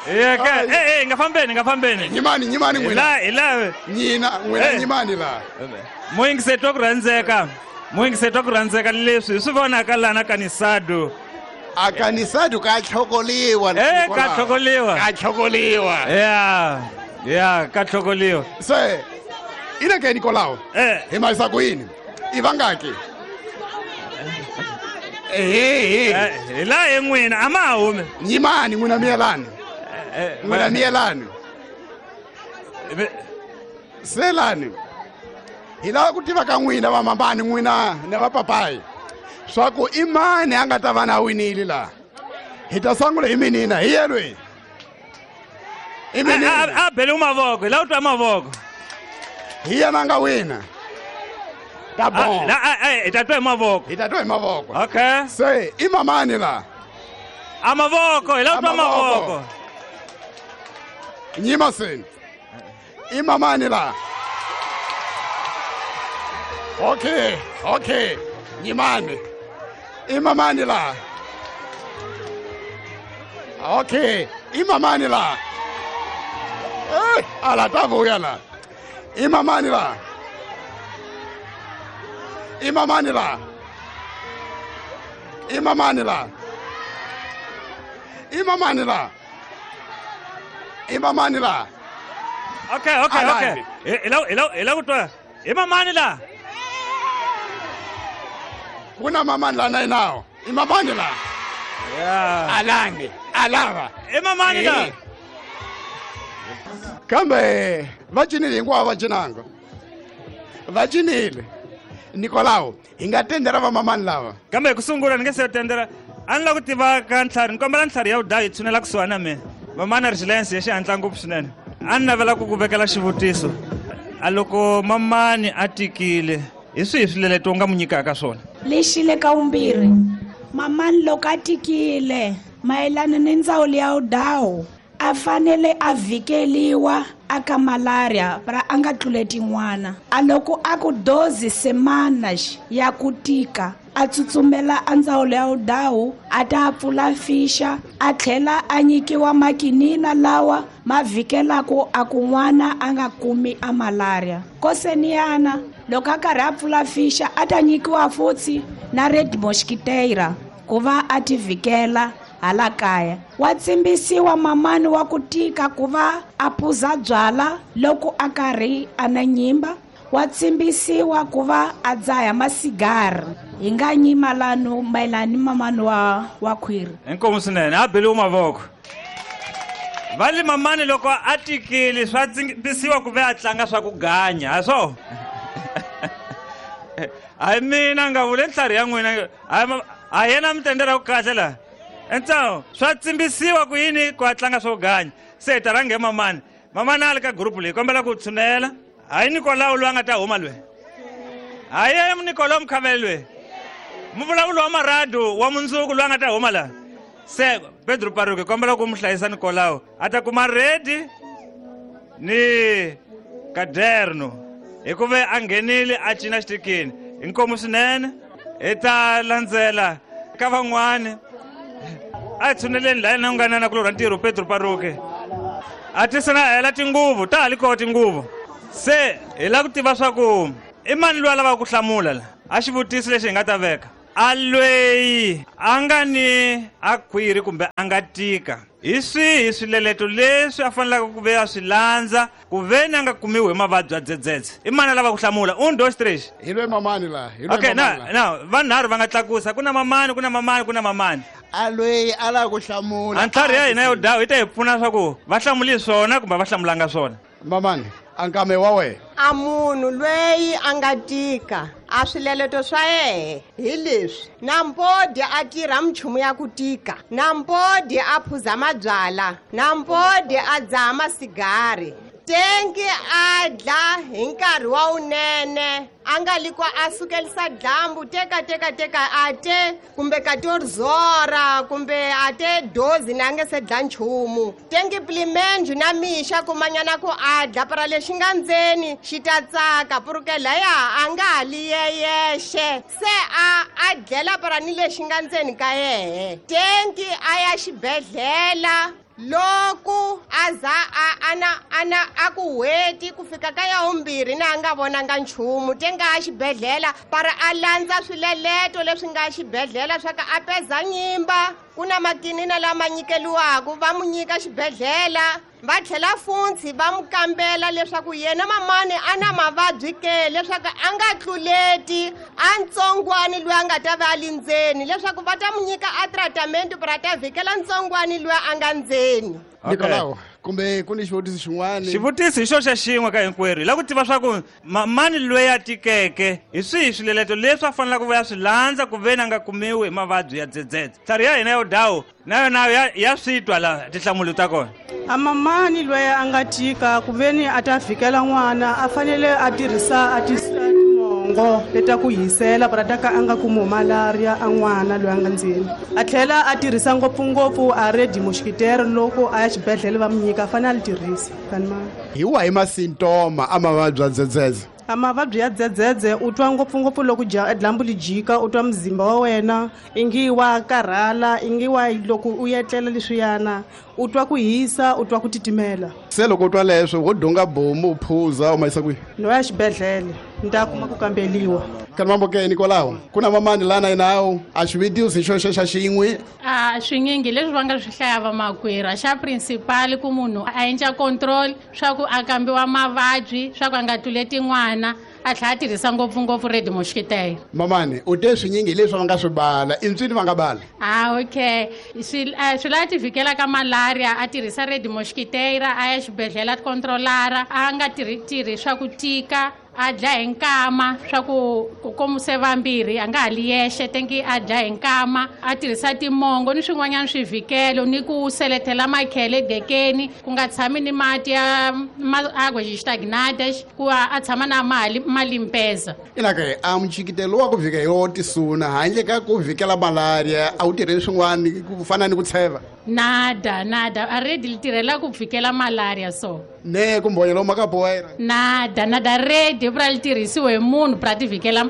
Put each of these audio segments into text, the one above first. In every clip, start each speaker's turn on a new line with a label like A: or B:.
A: Ye ke eh eh nga fambeni nga fambeni.
B: Nyimani nyimani n'wina.
A: La hi la
B: Nyina n'wina
A: Eh.
B: nyimani la.
A: Muyingiseti wa ku rhandzeka. Muyingiseti wa ku rhandzeka leswi hi swi vonaka lana kanisado.
C: A kanisado ka tlhokoliwa.
A: Eh ka tlhokoliwa.
C: Ka tlhokoliwa.
A: Yeah. Yeah, ka tlhokoliwa.
B: Se ina ke Nikolao.
A: Eh.
B: Hi maisa ku yini? I vangaki? Ehe.
A: Eh, hi la hi n'wina a ma ha humi.
B: Nyimani n'wina miyelani. N'wina miyelani. Selani. Hi lava ku tiva ka n'wina vamambani n'wina na vapapayi swa ku i mani a nga ta va na winile laha hi ta sungula hi minina hi yelweni i minina
A: A beliwi mavoko, hi lava ku twa mavoko.
B: Hi yena a nga wina ta bon
A: Hi ta twa hi mavoko.
B: Hi ta twa hi mavoko.
A: Okay.
B: Se i mamani la?
A: A mavoko, hi lava ku twa mavoko.
B: Nyima seni. I mamani la? Okay, okay. Nyimani. I mamani la? Okay, i mamani la? Eh, ala ta vuya la. I mamani la? I mamani la? I mamani la? I mamani la? I mamani la?
A: Okay, okay, okay.
B: Alani.
A: Hi lava hi lava hi lava ku twa. I mamani la?
B: Ku na mamani la na yinawo. I mamani la?
A: Yeah.
B: Alangi, alava.
A: I mamani la?
B: Eh. Kambe va cinile hinkwavo va cinanga. Va cinile. Nikolao, hi nga tendera va mamani lava.
A: Kambe ku sungula ni nge se tendera. A ni lava ku tiva ka ntlhari, ni kombela ntlhari ya vudayi yi tshunela kusuhani na mina. Mamani Resilience ya xihatla ngopfu swinene. A ni navela ku ku vekela xivutiso. A loko mamani a tikile, hi swihi swileleto u nga n'wi nyikaka swona?
D: Lexi le ka vumbirhi mamani loko a tikile mayelana ni ndzawulo ya vudawu a fanele a vhikeliwa aka malaria ra a nga tluleti n'wana a loko a ku dozi semana ya ku tika a tsutsumela a ndzawulo ya vudawu a ta pfula fixa a tlhela a nyikiwa makinina lawa ma vhikelaku a ku n'wana a nga kumi a malaria koseniyana loko a karhi a pfula fixa a ta nyikiwa futhi na red mosquiteira ku va a ti vhikela hala kaya wa tsimbisiwa mamani wa ku tika ku va a phuza byala loko a karhi a na nyimba wa tsimbisiwa ku va a dzaha masigari hi nga nyima lano mayelana ni mamani wa khwiri.
A: Inkomu swinene, a beliwi mavoko. Va li mamani loko a tikile swa tsimbisiwa ku ve a tlanga swa ku ganya, ha swo? Hayi mina nga vule ntlhari ya n'wina, a yena mi tendera ku kahle laha. Entsawo, swa tsimbisiwa ku yini ku a tlanga swo ganya. Se hi ta rhanga hi mamani. Mamani a li ka group leyi, kombela ku tshunela. Hayi Nikolao loyi a nga ta huma loyi. Hayi yena Nikolao Mkhavele loyi. Muvulavulo wa maradu wa mundzuku loyi a nga ta huma laha. Se Pedro Paruke kombela ku mu hlayisa Nikolao. A ta kuma redi ni kaderno. Hikuva a nghenile a cina xitikini. Inkomu swinene. Hi ta landzela ka van'wani. A hi tshuneleni laha na ku nga na kulorha ntirho Pedro Paruke. A ti se na hela tinguvu, ta ha li koho tinguvu. Se hi lava ku tiva swa ku i mani loyi a lavaka ku hlamula la? A xivutiso lexi hi nga ta veka. A lweyi a nga ni a khwiri kumbe a nga tika. Hi swihi swileleto leswi a faneleke ku ve a swi landza ku ve ni a nga kumiwi hi mavabyi ya dzedzedze? I mani a lava ku hlamula? Un, dos, tres.
B: Hi lwe mamani la, hi lwe
A: Okay,
B: mamani la.
A: na vanharhu va nga tlakusa. Ku na mamani, ku na mamani, ku na mamani.
C: A lweyi a lava ku hlamula.
A: A ntlhari ya hina yo dawu yi ta hi pfuna swa ku va hlamuli swona kumbe va hlamulanga swona.
B: Mamani, a nkame wa wena.
E: A munhu lweyi a nga tika a swileleto swa yehe hi leswi: nampodi a tirha minchumu ya ku tika, nampodi a phuza mabyala, nampodi a dzaha masigari. Tengi a dla hi nkarhi wa wunene a nga li ku a sukelisa dyambu teka teka teka a te kumbe 14 kumbe a te dozi na a nge se dla nchumu. Tengi plimenju na mixa kumanyana ku a dla para lexi nga ndzeni xi ta tsaka purukela ya a nga ha li yeyexe se a dlela para ni lexi nga ndzeni ka yehe. Tengi a ya xibedhlele loko aza ana a ku hweti ku fika ka ya umbirhi na a nga vonanga nchumu tenga a xibedhlele para a landza swileleto leswi nga xibedhlele swa ka a peza nyimba ku na makinina lama nyikeliwaka va mu nyika xibedhlele va tlhela funtshi va mu kambela leswaku yena mamani a na mavabyi ke leswaku a nga tluleti a ntsongwani loyi a nga ta va a li ndzeni leswaku va ta mu nyika a tratament para ta vhikela ntsongwani loyi a nga ndzeni.
B: Nikolao, kumbe ku ni xivutiso xin'wana?
A: Xivutiso hi xo xa xin'we ka hinkwerhu. Hi lava ku tiva swa ku mamani loyi a tikeke hi swihi swileleto leswi a fanelaka ku ya swi landza ku veni a nga kumiwi hi mavabyi ya dzedzedze. Tlhari ya hina ya vudawu na yona ya swi twa la tinhlamulo ta kona.
F: A mamani loyi a nga tika ku veni a ta vhikela n'wana a fanele a tirhisa a timongo leta ku hisela para ta ka a nga kumi malaria a n'wana loyi a nga ndzeni. A tlhela a tirhisa ngopfungopfu a red mosquitero loko a ya xibedhlele va mu nyika a fanele a li tirhisa.
B: Hi wahi masintoma a mavabyi ya dzedzedze?
F: A mavabyi ya dzedzedze u twa ngopfungopfu loko dyambu li jika u twa muzimba wa wena ingi wa karhala ingi wa loko u etlela leswiyana u twa ku hisa u twa ku titimela.
B: Se loko u twa leswo wo dunga bomu u phuza u ma yisa kwihi?
F: No ya xibedhlele ni ta kuma ku kambeliwa.
B: Kanimambokeni kwalaho ku na mamani lana yinawu a xivutiso xo xa xin'we.
G: A swinyingi leswi va nga swi hlaya vamakwerhu a xa principal ku munhu a endla control swa ku a kambiwa mavabyi swa ku a nga tluleti n'wana a tlhela a tirhisa ngopfungopfu red mosquitero.
B: Mamani u te swinyingi leswi va nga swi bala i ntswini va nga bala?
G: Ah, okay, swi lava ti vhikela ka malaria a tirhisa red mosquitero a ya xibedhlele a controlara a nga tirhi swa ku tika a dlaya hi nkama swa ku komuse vambirhi a nga ha li yexe tengi a dlaya hi nkama a tirhisa timongo ni swin'wanyana swivhikelo ni ku seletela makhele edekeni ku nga tshami ni mati ya águas estagnadas ku a tshama na malimpeza.
B: Ina ke a mchikitelo wa ku vhika hi wo tisuna handle ka ku vhikela malaria a wu tirheli swin'wana ku fana ni ku tsheva?
G: Nada nada a redi li tirhela ku vhikela malaria so
B: ne ku mbonyelo makapoera
G: nada nada redi pra li tirhisiwe hi munhu pra ti vhikela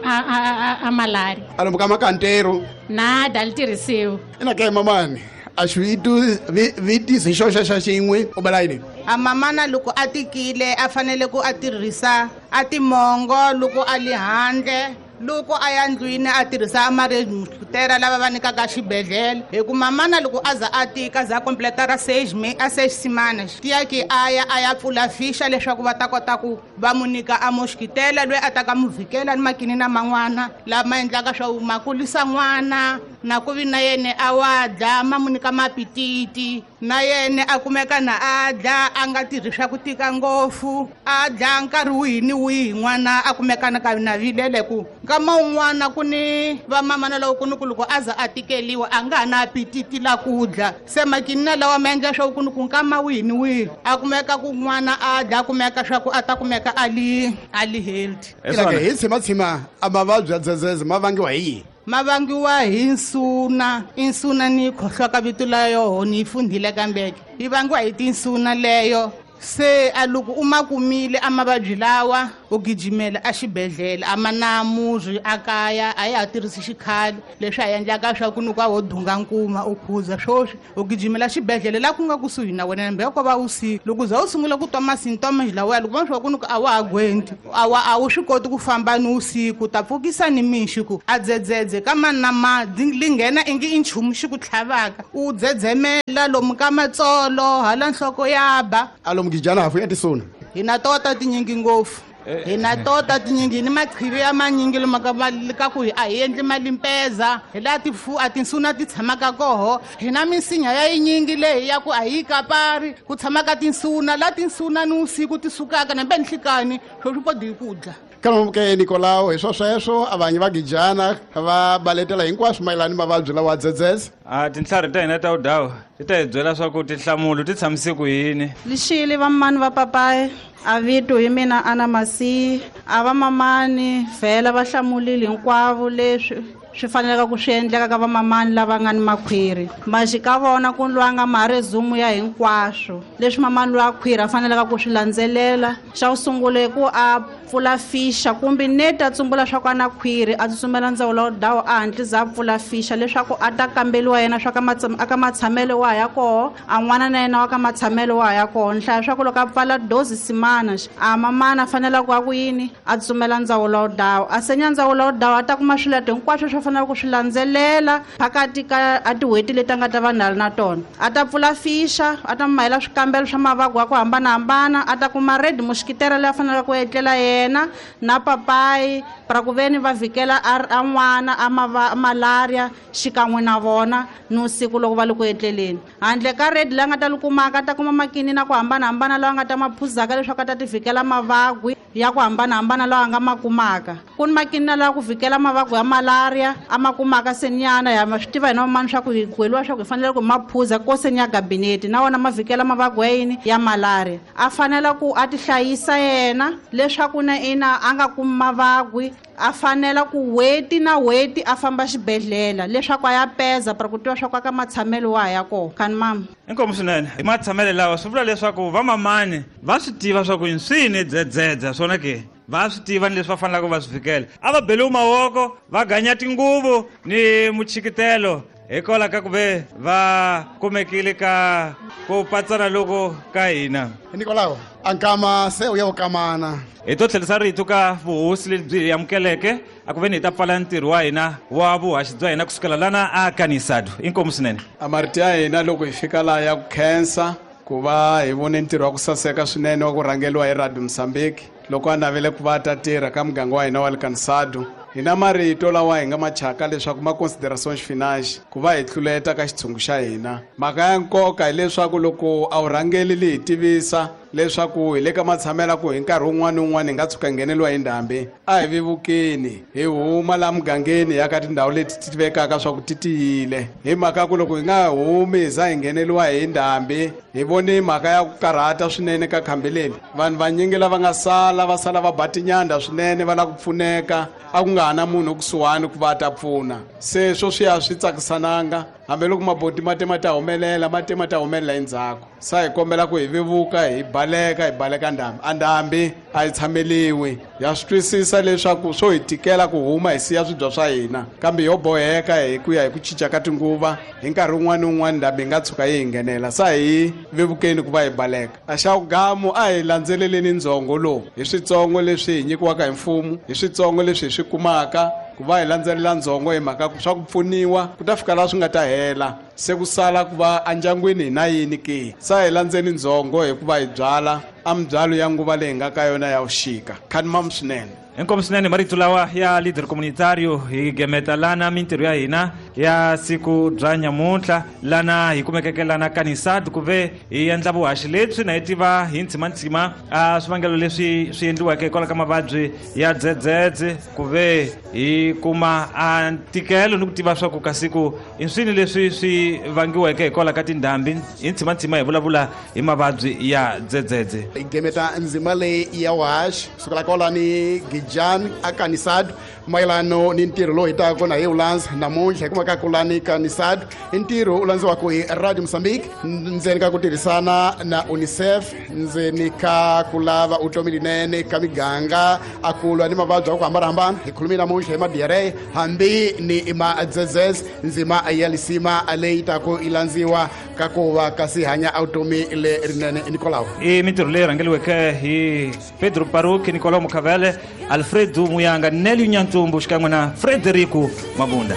G: a malaria
B: a lomu ka makantero
G: nada li tirhisiwe.
B: Ina ke mamani a xivutiso xo xa xin'we u bala yini?
H: A mamana loko a tikile a fanele ku a tirhisa a timongo loko a li handle loko a ya ndlwini a tirhisa amaredmutera lava va nyikaka xibedhlele hi ku mamana loko a za a tika za completa ra 6 a 6 semanas tiya ki a ya pfula fixa leswaku va ta kota ku va mu nyika a mosquitela loyi a ta ka mu vhikela ni makinina man'wana lama endlaka swa ma kulisa n'wana na ku vi na yene a wa dla ma mu nyika mapititi na yene a kumeka na a dla a nga tirhi swa ku tika ngopfu a dla nkarhi wihi ni wihi n'wana a kumeka na ka na vilele ku nkama un'wana ku ni vamamana loko ku ni ku loko a za a tikeliwa a nga ha na apetiti la ku dla se makinina lawa ma endla swa ku ni ku nkama wihi ni wihi a kumeka ku n'wana a dla kumeka swa ku a ta kumeka a li healthy.
B: Hi tshimatshima a mavabyi ya dzedzedze ma vangiwa hi yini?
H: Ma vangiwa hi nsuna insuna ni khohloka vito la yoho ni yi fundhile kambeke yi vangiwa hi tinsuna leyo se a loko u ma kumile a mavabyi lawa u gijimela a xibedhlele a ma na murhi a kaya a ya ha tirhisi xikhale leswi a endlaka swa ku ni ku a wo dunga nkuma u phuza swoswi u gijimela xibedhlele la ku nga kusuhi na wena nambe ko va usiku loko za u sungula ku twa masintomas lawaya loko va swa ku ni ku a wa ha gwenti a wu swi koti ku famba ni usiku ta pfukisa ni mixi ku a dzedzedze ka mani na mani li nghena ingi i nchumu xi ku tlhavaka u dzedzemela lomu ka matsolo hala nhloko ya ba
B: a lomu gijana hafu ya tisuna
H: hi na tota tinyingi ngopfu. Hi na tota tinyingi ni maqhivi ya manyingi loma ka ka ku a hi endli malimpeza hi laha a tinsuna ti tshamaka koho. Hi na misinya ya yinyingi leyi ya ku a hi kapari ku tshamaka tinsuna la tinsuna ni usiku ti sukaka na mbe nhlikani swo swi podi ku dla.
B: Kalomuke Nikolao hi sweswo a vanyi va gijana va baletela hinkwaswo mayelana ni mavabyi lawa dzedzedze.
A: A tintlhari ta hina ta vudawu ti ta hi byela swa ku tinhlamulo ti tshamise ku yini.
I: Lixile vamani va papayi a vito hi mina Ana Masi a va mamani vhela va hlamulile hinkwavo leswi swi faneleka ku swi endleka ka vamamani lava nga ni makhwiri. Maxi ka vona ku lwanga marezumu ya hinkwaswo leswi mamani loyi a khwiri a faneleka ku swi landzelela. Xa ku sungula i ku a pfula fixa kumbe neti a tsumbula swa ku a na khwiri a tsutsumela ndzawulo wa dawu a hatlisa a pfula fixa leswaku a ta kambeliwa yena swa ka aka matshamelo wa ya koho a n'wana na yena wa ka matshamelo wa ya koho. Nhlaya swa ku loko a pfala dozi simana a mamana a fanela ku a ku yini a tsutsumela ndzawulo wa dawu a senya ndzawulo wa dawu a ta kuma swileto hinkwaswo swo fanela ku swi landzelela phakati ka a tin'hweti leti a nga ta va na na tona. A ta pfula fixa a ta mahela swikambelo swa mavabyi ya ku hambanahambana a ta kuma red mosquitera leyi a faneleke ku etlela yena na papayi pra ku veni va vhikela a n'wana a malaria xikan'we na vona ni usiku loko va le ku etleleni. Handle ka red leyi a nga ta li kumaka a ta kuma makini na ku hambanahambana lawa a nga ta ma phuzaka leswaku a ta ti vhikela mavabyi ya ku hambanahambana lawa a nga ma kumaka. Ku ni makini lawa ku vhikela mavabyi ya malaria a ma kumaka senyana ya ma swi tiva hina vamani swa ku hi gweliwa swa ku hi fanele ku ma phuza ko senya gabinete na wona ma vhikela mavabyi ya yini ya malaria. A fanela ku a ti hlayisa yena leswaku na ina a nga kumi mavabyi. A fanela ku n'hweti na n'hweti a famba xibedhlele leswaku a ya peza para ku tiva swa ku aka matshamelo wa ya koho. Kani mama
A: inkomu swinene hi matshamelo lawa swi vula leswaku vamamani va swi tiva swa ku swi dzedzedza swona ke va swi tiva ni leswi va fanelaka va swi fikela. A va beliwi mavoko va ganya tinguvu ni muchikitelo hikwalaho ka ku ve va kumekile ka ku patsana loko ka hina.
B: Nikolao a nkama se u ya u kamana.
A: Hi to tlherisa rito ka vuhosi lebyi hi amukeleke a ku veni hi ta pfala ntirho wa hina wa vuhaxi bya hina kusukela lana a Kanisado. Inkomu swinene.
J: A marito ya hina loko hi fika laha ya ku khensa ku va hi vone ntirho wa ku saseka swinene wa ku rhangeliwa hi Radio Mozambique loko a navele ku va a ta tirha ka muganga wa hina wa le Kanisado. Hi na marito lawa hi nga machaka leswaku ma considerations finance ku va hi tluleta ka xitshungu xa hina. Mhaka ya nkoka hileswaku loko a wu rhangeli li hi tivisa leswaku hi le ka matshamela ku hi nkarhi wun'wana ni wun'wana hi nga tshuka ngheneliwa hi ndhambi a hi vevukeni hi huma laha mugangeni ya ka tindhawu leti ti tivekaka swa ku ti tiyile. Hi mhaka ku loko hi nga humi hi za hi ngheneliwa hi ndhambi hi vone mhaka ya ku karhata swinene ka khambi leri. Vanhu vanyingi lava nga sala va sala va ba tinyanda swinene va lava ku pfuneka a ku nga ha na munhu kusuhani ku va ta pfuna. Se swo swi ya swi tsakisananga hambiloko maboti ma te ma ta humelela ma te ma ta humelela endzhaku. Sa hi kombela ku hi vevuka hi baleka ndhambi. A ndhambi a yi tshameliwi. Ya swi twisisa leswaku swo hi tikela ku huma hi siya swibya swa hina kambe yo boheka hi ku ya hi ku cinca ka tinguva hi nkarhi wun'wana ni wun'wana ndhambi yi nga tshuka yi hi nghenela. Sa hi vevukeni ku va hi baleka. A xa gamu a hi landzeleleni ndzhongo lowu hi switsongo leswi hi nyikiwaka hi mfumo hi switsongo leswi hi swi kumaka ku va hi landzelela ndzhongo hi mhaka swa ku pfuniwa ku ta fika laha swi nga ta hela se ku sala ku va endyangwini hi na yini ke. Sa hi landzeni ndzhongo hikuva hi byala a mibyalo ya nguva leyi nga ka yona ya vuxika. Khani mam swinene.
A: Inkomu swinene marito lawa ya leader communitario hi gemeta lana mintirho ya hina ya siku bya nyamuntlha lana hi kumekeke lana Kanisad ku ve hi endla vuhaxi lebyi na hi tiva hi ntsimantsima a swivangelo leswi swi endliweke hikwalaho ka mavabyi ya dzedzedze ku ve hi kuma a ntikelo ni ku tiva swa ku ka siku i swini leswi swi vangiweke hikwalaho ka tindhambi. Hi ntsimantsima hi vulavula hi mavabyi ya dzedzedze.
B: Hi gemeta ndzima leyi ya vuhaxi kusukela kwalani Jan a Kanisad mayelano ni ntirho lowu hi taka kona hi wu landza namuntlha hi kumaka kulani Kanisad. I ntirho wu landziwaka hi Radio Mozambique ndzeni ka ku tirhisana na UNICEF ndzeni ka ku lava vutomi linene ka miganga a ku lwa ni mavabyi ya ku hambanahambana. Hi khulumile namuntlha hi ma-diarrhea hambi ni ma-dzedzedze ndzima ya lisima leyi taka yi landziwa ka ku va kasi hanya vutomi lerinene. Nikolao
A: i mintirho leyi rhangeliweke hi Pedro Paruki, Nicolao Mukhavele, Alfredo Muyanga, Nelly Nyantumbu xikan'we na Frederico Mabunda.